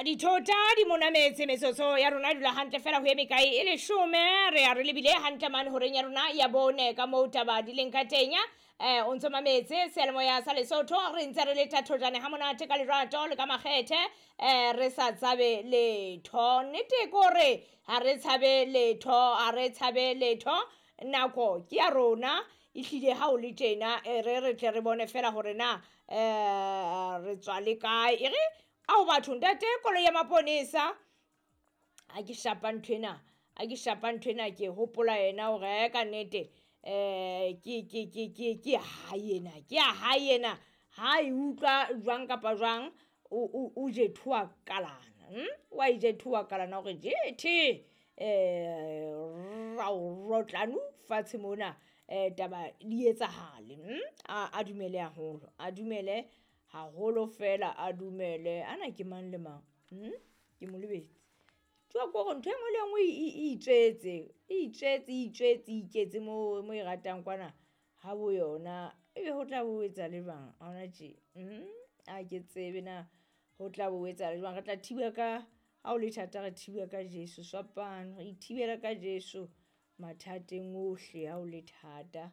Dithota di monametse metsotso ya rona dula hantle fela ho eme kae e leshome re ya re lebile hantle mane horeng ya rona ya bone ka moo taba di leng ka teng. O ntso mametse seyalemoya sa Lesotho, re ntse re le thathojane ha monate ka lerato le ka makgethe, re sa tshabe letho. Nnete ke hore ha re tshabe letho, ha re tshabe letho, nako ke ya rona ehlile ha o le tjena, e re re tle re bone fela hore na re tswa le kae. E re ao batho ntate koloi ya maponesa, ha ke shapa nthwena, ha ke shapa nthwena ke hopola yena hore ka nnete ke ya hae ena, ke ya hae ena. Ha e utlwa jwang kapa jwang o jethowa kalana, wa e jethowa kalana hore jethe rao rotlanu fatshe mona, taba di etsahale. A dumele haholo, a dumele haholo fela, a dumele. Ana ke mang le mang, ke mo lebetse. Tjo ke hore ntho e nngwe le e nngwe e itswetse, e itswetse, e itswetse, e iketse mo e ratang kwana ha bo yona. Ebe ho tla bo etsa le jwang hona tje? Ha ke tsebe na ho tla bo etsa le jwang. Re tla thiba ka, ha o le thata re thiba ka Jesu sefapano, re ithibela ka Jesu mathateng ohle ha o le thata,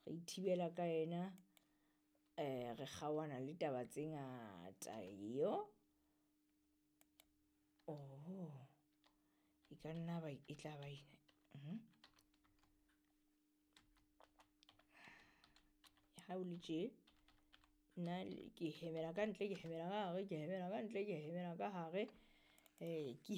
re ithibela ka yena, re kgaohana le taba tse ngata yo. Oho, e ka nna ba e tla ba ena. Ha o le tje nna ke hemela ka ntle, ke hemela ka hare, ke hemela ka ntle, ke hemela ka hare, ke.